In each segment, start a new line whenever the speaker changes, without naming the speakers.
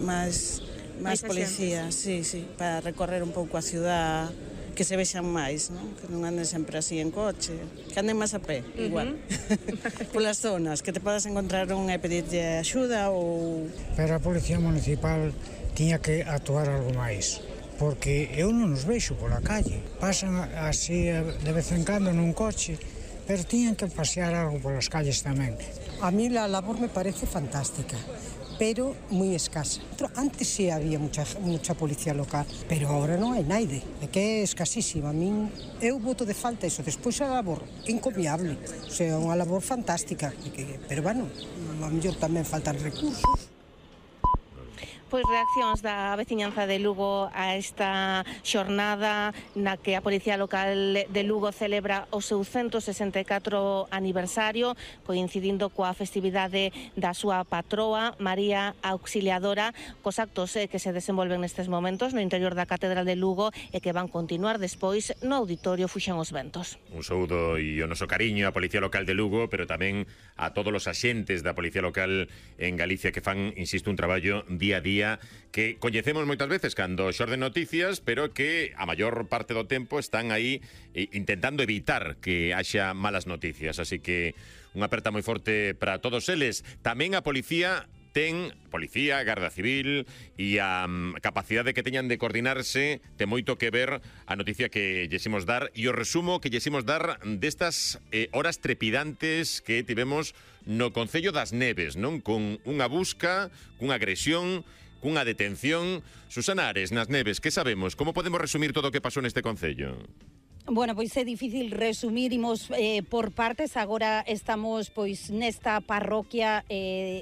Máis policías, sí, para recorrer un pouco a ciudad, que se vexan máis, non? Que non anden sempre así en coche, que anden máis a pé, igual. Polas zonas, que te podas encontrar un e pedirlle axuda ou...
Pero a Policía Municipal tiña que actuar algo máis, porque eu non os vexo pola calle. Pasan así de vez en cando nun coche, pero tiñan que pasear algo polas calles tamén.
A mí la labor me parece fantástica, pero moi escasa. Antes sí había mucha policía local, pero ahora non hai naide, é que é escasísima. A min, eu voto de falta iso, despois a labor encomiable, o sea, unha labor fantástica, pero bueno, a mellor tamén faltan recursos.
Pois reaccións da veciñanza de Lugo a esta xornada na que a Policía Local de Lugo celebra o seu 164 aniversario, coincidindo coa festividade da súa patroa, María Auxiliadora, cos actos que se desenvolven nestes momentos no interior da Catedral de Lugo e que van continuar despois no Auditorio Fuxan os Ventos.
Un saúdo e o noso cariño á Policía Local de Lugo, pero tamén a todos os axentes da Policía Local en Galicia que fan, insisto, un traballo día a día que coñecemos moitas veces cando xorden noticias, pero que a maior parte do tempo están aí intentando evitar que haxa malas noticias. Así que unha aperta moi forte para todos eles. Tamén a policía ten, Garda Civil e a capacidade que teñan de coordinarse ten moito que ver a noticia que llesimos dar e o resumo que llesimos dar destas horas trepidantes que tivemos no Concello das Neves, non? Con unha busca, cunha agresión, cunha detención. Susana Ares, nas Neves, que sabemos? Como podemos resumir todo o que pasou neste concello?
Bueno, pois é difícil resumir, imos por partes. Agora estamos pois nesta parroquia,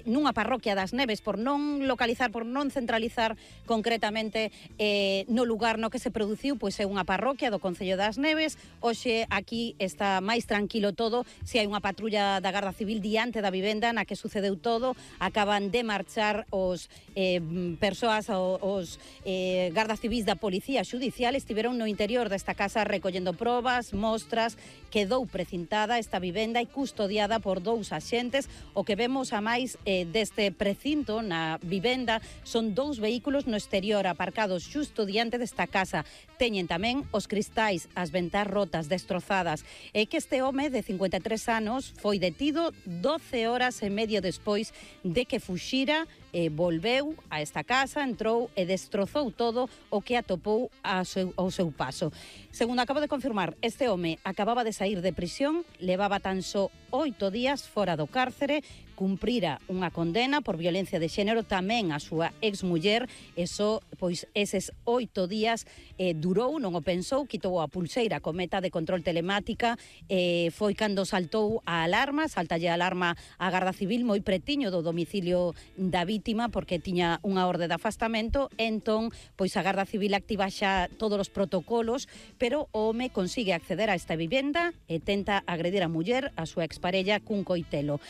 nunha parroquia das Neves, por non localizar, por non centralizar concretamente no lugar no que se produciu, pois é unha parroquia do Concello das Neves. Hoxe aquí está máis tranquilo todo, se hai unha patrulla da Garda Civil diante da vivenda na que sucedeu todo. Acaban de marchar os persoas, os Garda Civís da Policía Xudicial, estiveron no interior desta casa recollendo probas, mostras. Quedou precintada esta vivenda e custodiada por 2 axentes. O que vemos a máis deste precinto na vivenda son 2 vehículos no exterior aparcados xusto diante desta casa. Teñen tamén os cristais, as ventás rotas, destrozadas. É que este home de 53 anos foi detido 12 horas e medio despois de que fuxira, volveu a esta casa, entrou e destrozou todo o que atopou ao seu paso. Segundo acabo de confirmar, este home acababa de saír de prisión, levaba tan só 8 días fora do cárcere, cumprira unha condena por violencia de xénero tamén a súa exmuller, e só, pois, eses 8 días durou, non o pensou, quitou a pulseira co meta de control telemática, foi cando saltou a alarma, saltalle a alarma a Garda Civil moi pretiño do domicilio da vítima, porque tiña unha orde de afastamento. Entón, pois a Garda Civil activa xa todos os protocolos, pero o home consigue acceder a esta vivenda e tenta agredir a muller, a súa exparella, cun coitelo.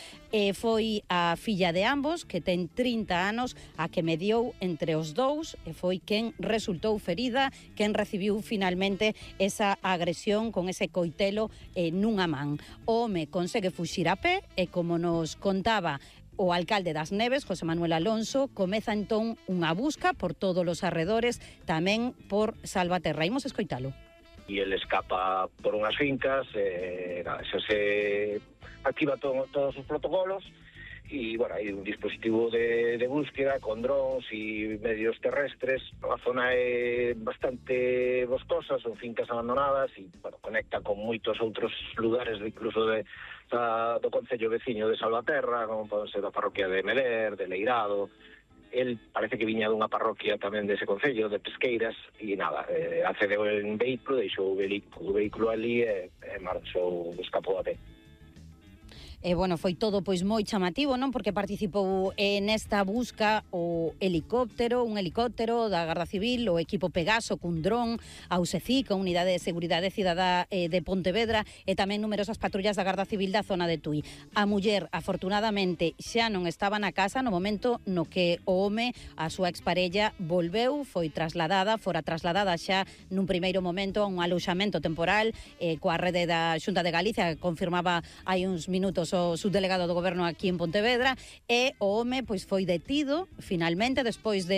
Foi a filla de ambos, que ten 30 anos, a que mediou entre os dous, e foi quen resultou ferida, quen recibiu finalmente esa agresión con ese coitelo nunha man. O home consegue fuxir a pé e, como nos contaba o alcalde das Neves, José Manuel Alonso, comeza entón unha busca por todos os arredores, tamén por Salvaterra. Imos escoitalo.
E ele escapa por unhas fincas, xa se activa todos os protocolos, e, bueno, hai un dispositivo de búsqueda con drones e medios terrestres. A zona é bastante boscosa, son fincas abandonadas e, bueno, conecta con moitos outros lugares, incluso do concello veciño de Salvaterra, como pode ser a parroquia de Meler, de Leirado. El parece que viña dunha parroquia tamén dese concello, de Pesqueiras, e nada, accedeu en vehículo, deixou o vehículo ali e marchou, escapou a pé.
Bueno, foi todo pois moi chamativo, non? Porque participou nesta busca un helicóptero da Garda Civil, o equipo Pegaso cun dron, a USECIC, a Unidade de Seguridade Cidadá de Pontevedra, e tamén numerosas patrullas da Garda Civil da zona de Tui. A muller, afortunadamente, xa non estaba na casa no momento no que o home, a súa exparella, volveu, fora trasladada xa nun primeiro momento a un aloxamento temporal coa rede da Xunta de Galicia, que confirmaba hai uns minutos temos o subdelegado do goberno aquí en Pontevedra, e o home pois foi detido finalmente despois de